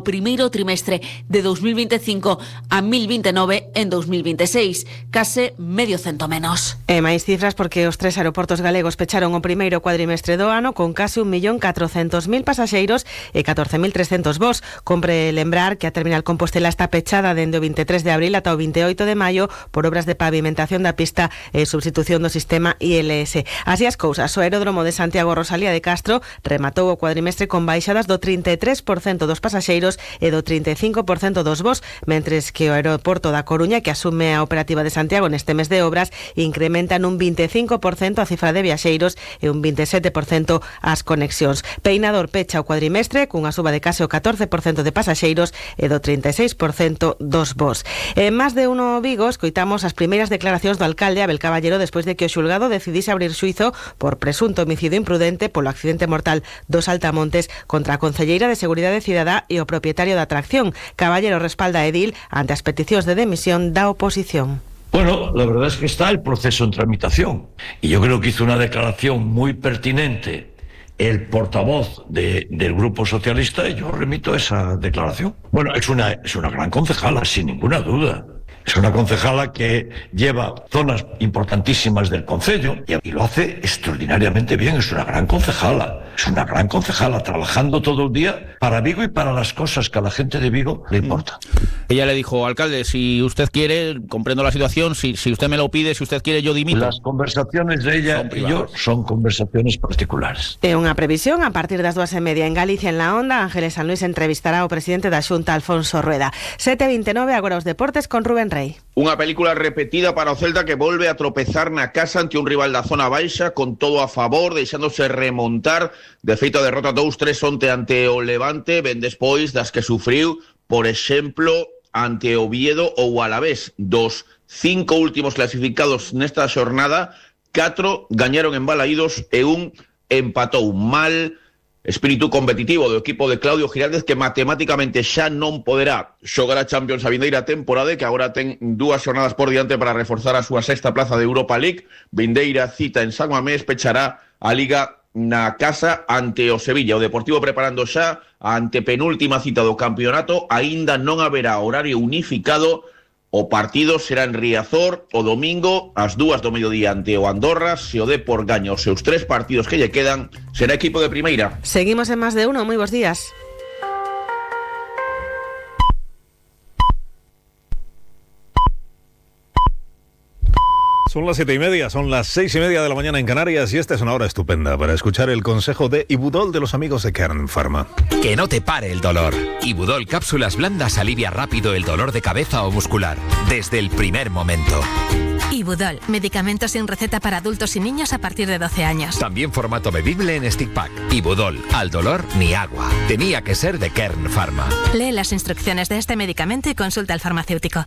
primeiro trimestre de 2025 a 1029 en 2026, case medio cento menos. E máis cifras porque os 3 aeroportos galegos pecharon o primeiro cuadrimestre do ano con case 1.400.000 pasaxeiros e 14.300 voos. Compre lembrar que a terminal Compostela está pechada dende o 23 de abril ata o 28 de maio por obras de pavimentación da pista e substitución do sistema ILS. Así as cousas, o aeródromo de Santiago Rosalía de Castro rematou o cuadrimestre con baixadas do 33% dos pasaxeiros e do 35% dos voos, mentres que o aeroporto da Coruña, que asume a operativa de Santiago neste mes de obras, incrementa nun 25% a cifra de viaxeiros e un 27% as conexións. Peinador pecha o cuadrimestre cunha suba de case o 14% de pasaxeiros e do 36% dos voos. En máis de uno Vigo, escoitamos as primeiras declaracións do alcalde Abel Caballero despois de que o xulgado decidise abrir xuizo por presunto homicidio imprudente polo accidente mortal dos Altamontes contra a concelleira de Seguridade Cidadá e o propietario da atracción. Caballero respalda a edil ante as peticións de demisión da oposición. Bueno, la verdad es que está el proceso en tramitación y yo creo que hizo una declaración muy pertinente el portavoz del Grupo Socialista y yo remito esa declaración. Bueno, es una gran concejala, sin ninguna duda. Es una concejala que lleva zonas importantísimas del concello y lo hace extraordinariamente bien. Es una gran concejala. Es una gran concejala trabajando todo el día para Vigo y para las cosas que a la gente de Vigo le importan. Ella le dijo, alcalde, si usted quiere, comprendo la situación, si usted me lo pide, si usted quiere, yo dimito. Las conversaciones de ella y yo son conversaciones particulares. É unha previsión, a partir das 2:30 en Galicia, en La Onda, Ángeles San Luis entrevistará ao presidente da Xunta, Alfonso Rueda. 7:29, agora os deportes con Rubén Rey. Unha película repetida para o Celta que volve a tropezar na casa ante un rival da zona baixa con todo a favor, deixándose remontar. De feito, a derrota 2-3 onte ante o Levante, ben despois das que sufriu, por exemplo, ante Oviedo ou Alavés. Dos 5 últimos clasificados nesta xornada, 4 gañaron en Balaídos e un empatou. Mal espírito competitivo do equipo de Claudio Giraldez, que matemáticamente xa non poderá xogar a Champions a vindeira temporada, que agora ten 2 xornadas por diante para reforzar a súa sexta plaza de Europa League. Vindeira cita en San Mamés, pechará a Liga na casa ante o Sevilla. O Deportivo preparando xa a antepenúltima cita do campeonato. Aínda non haberá horario unificado. O partido será en Riazor o domingo ás 2 do mediodía ante o Andorra. Se o Depor gaña os seus 3 partidos que lle quedan, será equipo de primeira. Seguimos en Más de Uno, moi bons días. Son las 7:30, son las 6:30 de la mañana en Canarias y esta es una hora estupenda para escuchar el consejo de Ibudol de los amigos de Kern Pharma. Que no te pare el dolor. Ibudol Cápsulas Blandas alivia rápido el dolor de cabeza o muscular, desde el primer momento. Ibudol, medicamento sin receta para adultos y niños a partir de 12 años. También formato bebible en stick pack. Ibudol, al dolor ni agua. Tenía que ser de Kern Pharma. Lee las instrucciones de este medicamento y consulta al farmacéutico.